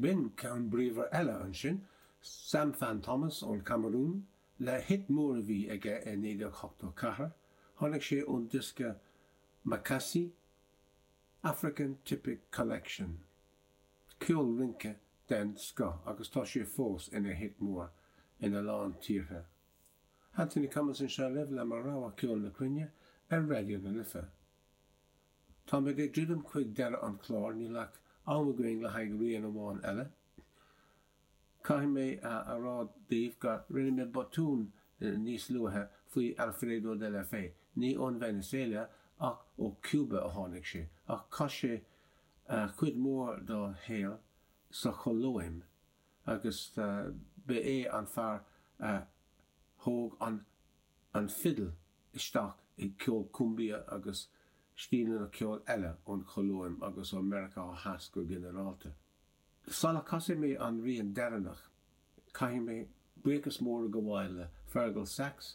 B'in ceann bríomhar eile ansin, Sam Fan Thomas ón Chamarún, le hit mór a bhí aige i 1984, tháinig sé ón diosca Makassi, African Typic Collection. Ceol rince den scoth agus tá sé fós ina hit mór ina lán tíortha. Anthony Cummins anseo libh le mo rogha ceol na cruinne ar Raidió na Life. Táimid ag druidim chuig deireadh an chláir, níl ach am againn le haghaidh rian amháin eile. Caithfidh mé a rá daoibh go rinne mé botún níos luaithe faoi Alfredo de la Fe, ní ón Veiniséala ach ó Cuba a tháinig sé, ach chaith sé cuid mhór dá shaol sa Cholóim agus ba é an fear a thóg an fidil isteach i gceol cumbia agus stíleanna ceoil eile ón Cholóim agus ó Meiriceá Theas go ginearálta. Sula casfaidh mé an rian deireanach, caithfidh mé buíochas mór a ghabháil le Fergal Sachs,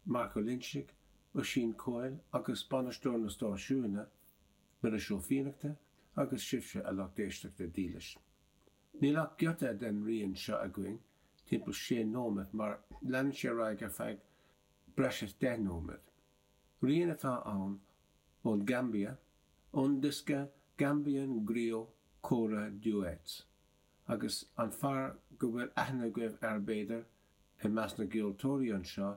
Marc Ó Loinsigh, Oisín Coyle agus bainisteoir na stáisiúna, Muiris Ó Fiannachta, agus sibhse, a lucht éisteachta dílis. Níl ach giota den rian seo againn, timpeall sé nóiméad, mar leanann sé ar aghaidh ar feadh breis is 10 nóiméad. Rian atá ann ón Gaimbia, ón diosca Gambian Griot Kora Duets, agus an fear go bhfuil aithne agaibh air b'fhéidir, i measc na gceoltóirí anseo,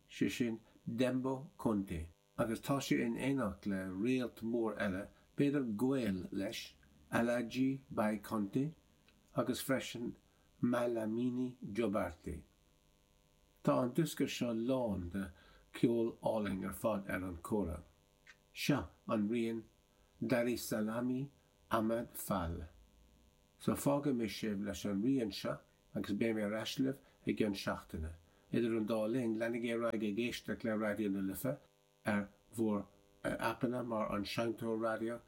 sé sin Dembo Konte. Agus tá sé in éineacht le réalt mór eile, b'fhéidir gaol leis, Aladji Bai Konte, agus freisin Malamine Jobarteh. Tá an diosca seo lán de cheol álainn ar fad ar an kora. Seo an rian Darisalami Ahmad Fall. So fágfaidh mé sibh leis an rian seo agus beidh mé ar ais libh i gcionn seachtaine. Idir an dá linn, leanaigí ar aghaidh ag éisteacht le Raidió na Life ar bhur aipeanna mar an Seinnteoir Raidió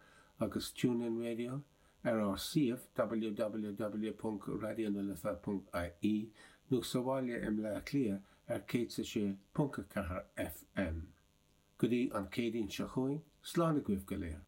agus TuneIn Radio, ar ár suíomh www.raidionalife.ie nó sa bhaile i mBleá Cliath ar 106.4 FM. Go dtí an Chéadaoin seo chugainn, slán agaibh go léir.